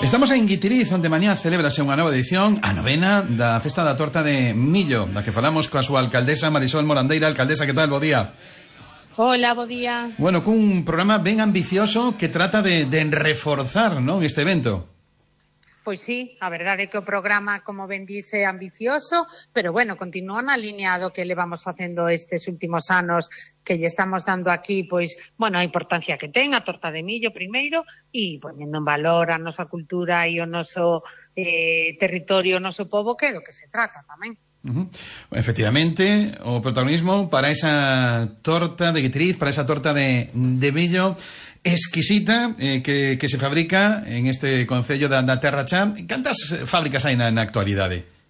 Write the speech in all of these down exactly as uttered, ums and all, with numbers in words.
Estamos en Guitiriz, onde mañá celébrase unha nova edición, a novena da Festa da Torta de Millo, da que falamos coa súa alcaldesa Marisol Morandeira. Alcaldesa, que tal? Bo día. Hola, bo día. Bueno, cun programa ben ambicioso que trata de, de reforzar, non, este evento. Pois sí, a verdade é que o programa, como ben dice, é ambicioso, pero bueno, continúa na línea do que levamos facendo estes últimos anos, que lle estamos dando aquí, pois, bueno, a importancia que ten a torta de millo primeiro, e poñendo en valor a nosa cultura e o noso eh, territorio, o noso pobo, que é do que se trata tamén. Uh-huh. Efectivamente, o protagonismo para esa torta de Guitiriz, para esa torta de, de millo exquisita, eh, que, que se fabrica en este concello da, da Terra Chá. Cantas fábricas hai na, na actualidade?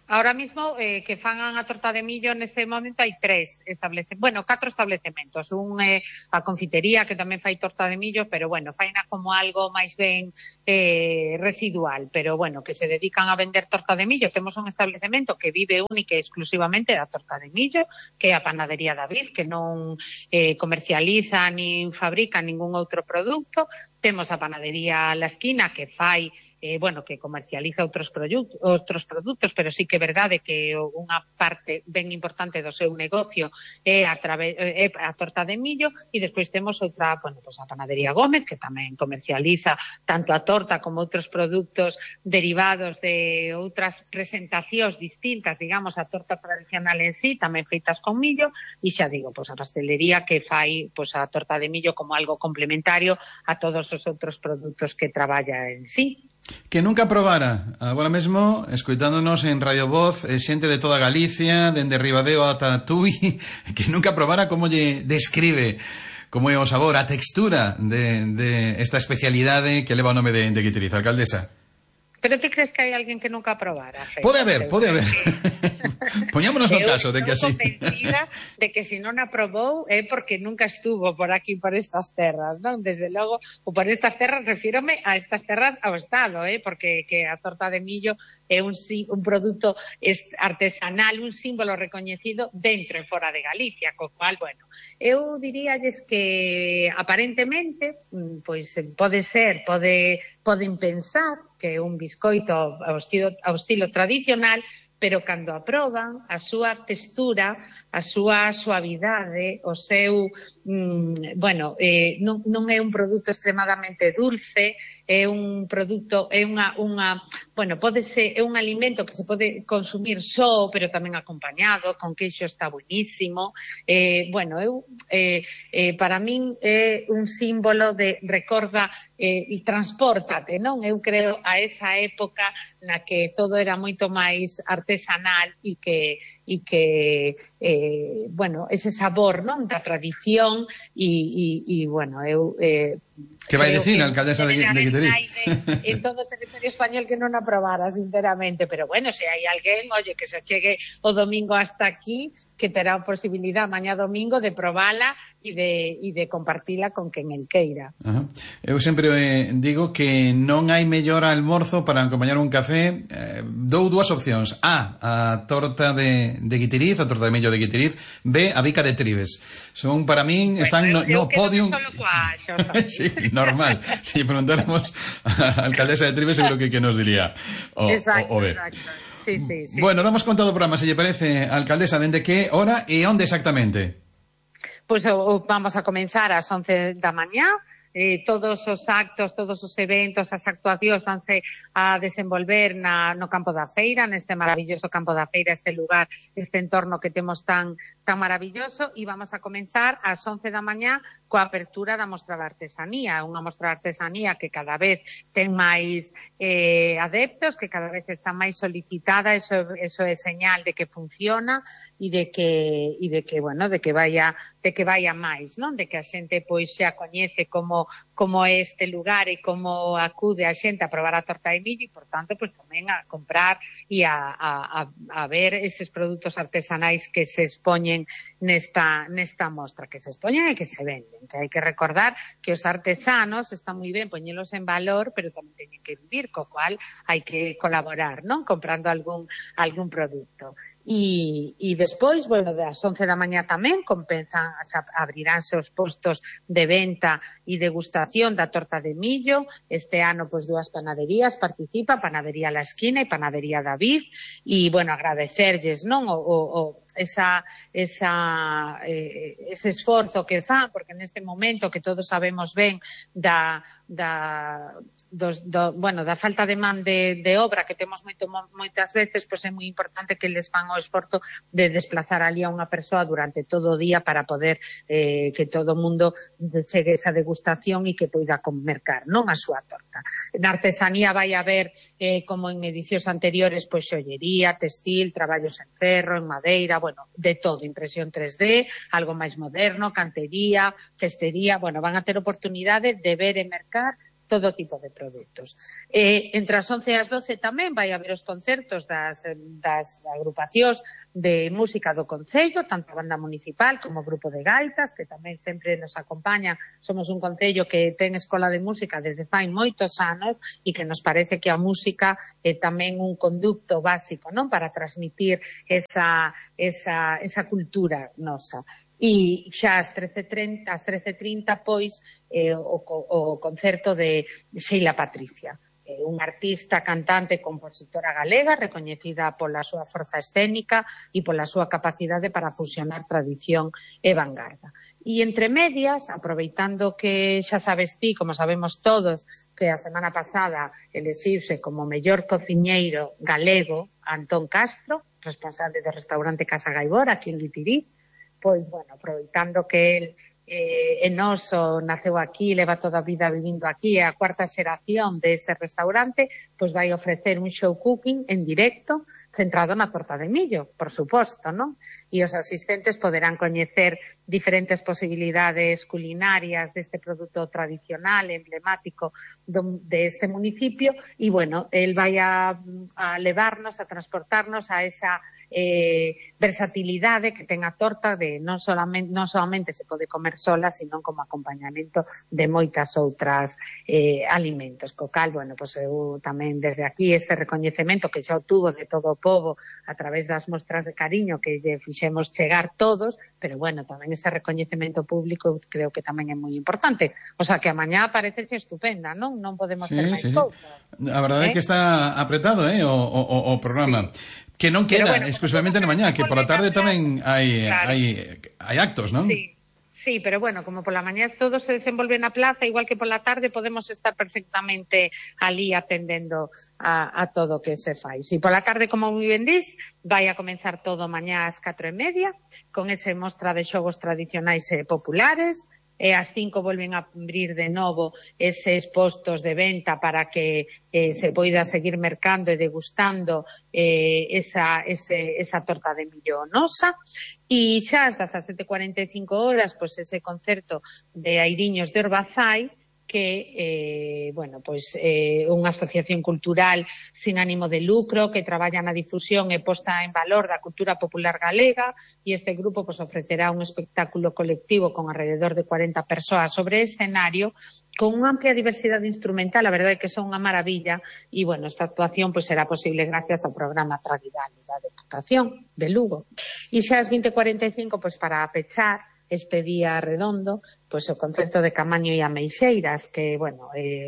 Ahora mismo, eh, que fan a torta de millo neste momento hai tres establecementos, bueno, catro establecementos. Un é eh, a confitería, que tamén fai torta de millo, pero bueno, faina como algo máis ben eh, residual, pero bueno, que se dedican a vender torta de millo. Temos un establecemento que vive única e exclusivamente da torta de millo, que é a Panadería David, que non eh, comercializa nin fabrica ningún outro produto. Temos a Panadería La Esquina, que fai Eh, bueno, que comercializa outros produtos, outros produtos, pero sí que é verdade que unha parte ben importante do seu negocio é a, través, é a torta de millo, e despois temos outra, bueno, pues a Panadería Gómez, que tamén comercializa tanto a torta como outros produtos derivados de outras presentacións distintas, digamos, a torta tradicional en sí, tamén feitas con millo, e xa digo, pues a pastelería que fai pues a torta de millo como algo complementario a todos os outros produtos que traballa en sí. Que nunca probara, agora mesmo, escoitándonos en Radio Voz, eh, xente de toda Galicia, dende Ribadeo ata Tui, que nunca probara como lle describe como é o sabor, a textura de, de esta especialidade que leva o nome de, de Guitiriz. Alcaldesa. Pero ti crees que hai alguén que nunca probara? Pode haber, pode haber. Poñámonos no caso de que así. Eu estou convencida de que se non aprobou é porque nunca estuvo por aquí, por estas terras, non? Desde logo, ou por estas terras, refírome a estas terras ao Estado, eh? Porque que a torta de millo é un, un produto artesanal, un símbolo recoñecido dentro e fora de Galicia, co cual, bueno, eu diríalles que aparentemente, pois pode ser, pode, poden pensar que é un biscoito ao estilo, ao estilo tradicional, pero cando aproban, a súa textura, a súa suavidade, o seu, mm, bueno, eh, non, non é un produto extremadamente dulce, é un produto, é unha, unha, bueno, pode ser, é un alimento que se pode consumir só, pero tamén acompañado, con queixo está buenísimo. Eh, bueno, eu, eh, eh, para min é un símbolo de recorda eh, e transpórtate, non? Eu creo a esa época na que todo era moito máis artesanal e que e que, eh, bueno, ese sabor, non? Da tradición e, e, e bueno, eu... Eh, que vai dicir, alcaldesa de, de Guitiriz? En todo o territorio español que non aprobara, sinceramente, pero bueno, se hai alguén, oye, que se chegue o domingo hasta aquí, que terá a posibilidad mañá domingo de probala e de, e de compartila con quen el queira. Ajá. Eu sempre eh, digo que non hai mellor almorzo para acompañar un café. Eh, dou dúas opcións: A, a torta de, de Guitiriz, a torta de millo de Guitiriz; B, a bica de Tribes. Son, para min, están bueno, no, no podium. Solo coa sí, normal. Si preguntáramos a la alcaldesa de Tribes, seguro que, que nos diría o, exacto, o, o B. Exacto. Sí, sí, sí. Bueno, damos conta do programa, se lle parece, alcaldesa, dende que hora e onde exactamente? Pois pues, vamos a comenzar ás once da mañá. Eh, todos os actos, todos os eventos, as actuacións vanse a desenvolver na, no campo da feira, neste maravilloso campo da feira, este lugar, este entorno que temos tan tan maravilloso, e vamos a comenzar ás once da mañá coa apertura da mostra de artesanía, unha mostra de artesanía que cada vez ten máis eh, adeptos, que cada vez está máis solicitada. Eso, eso é señal de que funciona e de que e de que, bueno, de que vaya de que vaya máis, non? De que a xente pois xa coñece como como é este lugar e como acude a xente a probar a torta de millo, e, por tanto, pues, tamén a comprar e a, a, a ver eses produtos artesanais que se expoñen nesta, nesta mostra, que se expoñen e que se venden. Que hai que recordar que os artesanos están moi ben poñelos en valor, pero tamén teñen que vivir, co cual hai que colaborar, non? Comprando algún, algún produto. E, e despois, bueno, das once da mañá tamén comenzan abriránse os postos de venta e degustación da torta de millo. Este ano, pois, dúas panaderías participa, Panadería La Esquina e Panadería David, e, bueno, agradecerlles, non, o, o esa, esa, eh, ese esforzo que fan, porque neste momento que todos sabemos ben da, da, dos, do, bueno, da falta de man de, de obra que temos moito, moitas veces, pois é moi importante que les fan o esforzo de desplazar ali a unha persoa durante todo o día para poder eh, que todo o mundo chegue esa degustación e que poida mercar, non a súa torta. Na artesanía vai haber, eh, como en edicións anteriores, pois xollería, textil, traballos en ferro, en madeira, bueno, de todo, impresión tres D, algo máis moderno, cantería, cestería, bueno, van a ter oportunidade de ver e mercar todo tipo de produtos. Eh, entre as once e as doce tamén vai haber os concertos das, das agrupacións de música do Concello, tanto a banda municipal como o grupo de gaitas, que tamén sempre nos acompaña. Somos un concello que ten escola de música desde fai moitos anos e que nos parece que a música é tamén un conducto básico, non, para transmitir esa, esa, esa cultura nosa. E xa ás trece e trinta, pois, eh, o, o concerto de Sheila Patricia, eh, unha artista, cantante e compositora galega recoñecida pola súa forza escénica e pola súa capacidade para fusionar tradición e vanguarda. E entre medias, aproveitando que xa sabes ti, como sabemos todos, que a semana pasada elexirse como mellor cociñeiro galego Antón Castro, responsable do restaurante Casa Gaibor aquí en Guitirí, pois, bueno, aproveitando que el eh, é noso, naceu aquí, leva toda a vida vivindo aquí, é a cuarta xeración dese restaurante, pois vai ofrecer un show cooking en directo centrado na torta de millo, por suposto, non? E os asistentes poderán coñecer diferentes posibilidades culinarias deste produto tradicional, emblemático do, de este municipio, e, bueno, el vai a, a levarnos, a transportarnos a esa eh, versatilidade que ten a torta de non solamente, non solamente se pode comer sola, sino como acompañamento de moitas outras eh, alimentos. Co cal, bueno, pues eu tamén desde aquí este recoñecemento que xa obtuvo de todo o pobo a través das mostras de cariño que lle fixemos chegar todos, pero bueno, tamén ese recoñecemento público creo que tamén é moi importante. O sea, que a mañá parece estupenda, non? Non podemos sí, ter máis sí. cousas. A verdade é ¿Eh? que está apretado, eh, o, o, o programa. Sí. Que non queda bueno, exclusivamente na mañá, que pola tarde tamén hai, claro. hai, hai actos, non? Sí. Sí, pero bueno, como pola mañá todo se desenvolve na plaza, igual que pola tarde podemos estar perfectamente ali atendendo a, a todo o que se fai. Si pola tarde, como moi ben dís, vai a comenzar todo mañá ás catro e media, con ese mostra de xogos tradicionais e populares, e ás cinco volven a abrir de novo eses postos de venta para que eh, se poida seguir mercando e degustando eh, esa, ese, esa torta de millo nosa. E xa ás dezasete e cuarenta e cinco horas, pois ese concerto de Airiños de Orbazai, que, eh, bueno, pois eh, unha asociación cultural sin ánimo de lucro que traballa na difusión e posta en valor da cultura popular galega, e este grupo pois ofrecerá un espectáculo colectivo con alrededor de cuarenta persoas sobre escenario con unha amplia diversidade instrumental. A verdade é que son unha maravilla e, bueno, esta actuación pois será posible gracias ao programa Tradigal da Deputación de Lugo. E xa ás vinte e cuarenta e cinco, pois para pechar este día redondo, pois o concerto de Camaño e Ameixeiras, que, bueno, é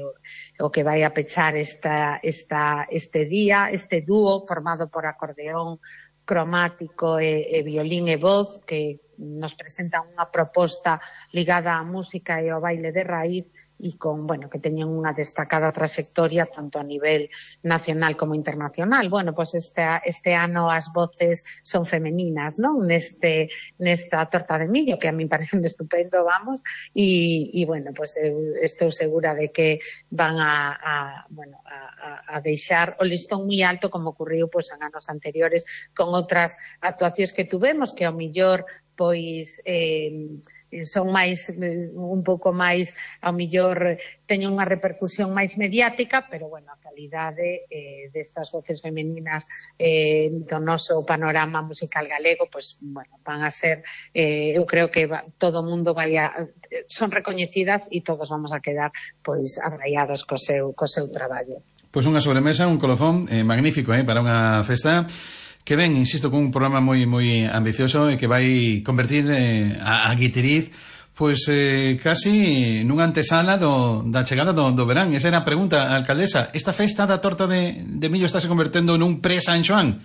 o que vai a pechar esta, esta, este día, este dúo formado por acordeón cromático e, e violín e voz, que nos presentan unha proposta ligada á música e ao baile de raíz e con, bueno, que teñen unha destacada trayectoria tanto a nivel nacional como internacional. Bueno, pues este, este ano as voces son femeninas, non? Neste, nesta torta de millo, que a mí parece estupendo, vamos, e, e bueno, pues eu estou segura de que van a, a bueno, a, a deixar o listón moi alto, como ocurriu pues en anos anteriores con outras actuacións que tuvemos, que ao millor pois eh, son máis, un pouco máis, ao millor teñen unha repercusión máis mediática, pero, bueno, a calidade eh, destas voces femeninas eh, do noso panorama musical galego, pois, bueno, van a ser, eh, eu creo que va, todo o mundo vai a, son recoñecidas e todos vamos a quedar, pois, abraiados co seu, co seu traballo. Pois unha sobremesa, un colofón eh, magnífico, eh, para unha festa que ven, insisto, con un programa moi moi ambicioso e que vai convertir eh, a, a Guitiriz pois eh, casi nunha antesala do, da chegada do, do verán. Esa era a pregunta, alcaldesa. Esta festa da torta de, de millo está se convertendo nun pre-San Xoán?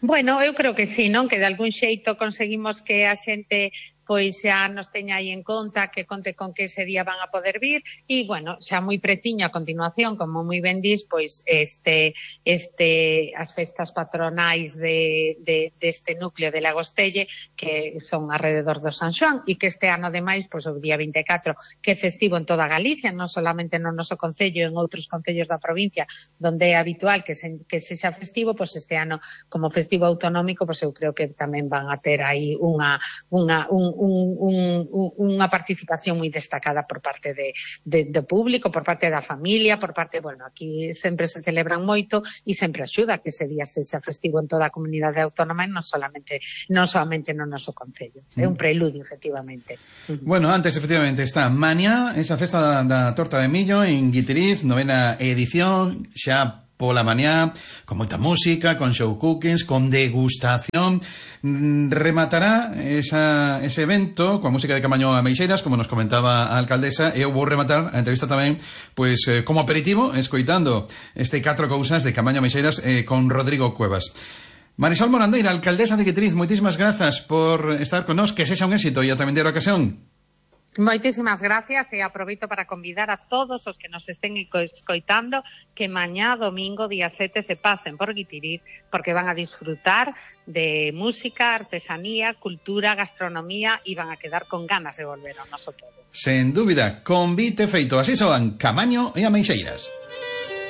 Bueno, eu creo que sí, non? Que de algún xeito conseguimos que a xente pois xa nos teña aí en conta, que conte con que ese día van a poder vir e, bueno, xa moi pretiño a continuación, como moi ben dis, pois este, este as festas patronais de, de, deste núcleo de Lagostelle, que son alrededor do San Xoán, e que este ano, ademais, pois o día vinte e catro, que é festivo en toda Galicia, non solamente no noso concello, en outros concellos da provincia, donde é habitual que, se, que sexa festivo, pois este ano, como festivo autonómico, pois eu creo que tamén van a ter aí unha, unha, un Un, un, unha participación moi destacada por parte de, de, do público, por parte da familia, por parte, bueno, aquí sempre se celebran moito e sempre axuda que ese día sexa festivo en toda a comunidade autónoma e non solamente, non solamente no noso concello. É un preludio, efectivamente. Bueno, antes, efectivamente, está mañá esa festa da, da torta de millo en Guitiriz, novena edición, xa pola mañá, con moita música, con show cookings, con degustación. Rematará esa, ese evento coa música de Camaño Ameixeiras, como nos comentaba a alcaldesa, e eu vou rematar a entrevista tamén pois eh, como aperitivo, escoitando este catro cousas de Camaño Ameixeiras eh, con Rodrigo Cuevas. Marisol Morandeira, alcaldesa de Guitiriz, moitísimas grazas por estar con nós, que sexa un éxito e ata vindeira ocasión. Moitísimas gracias e aproveito para convidar a todos os que nos estén escoitando que mañá domingo día sete se pasen por Guitiriz porque van a disfrutar de música, artesanía, cultura, gastronomía e van a quedar con ganas de volver ao noso pobo. Sen dúbida, convite feito. Así soan Camaño e Ameixeiras.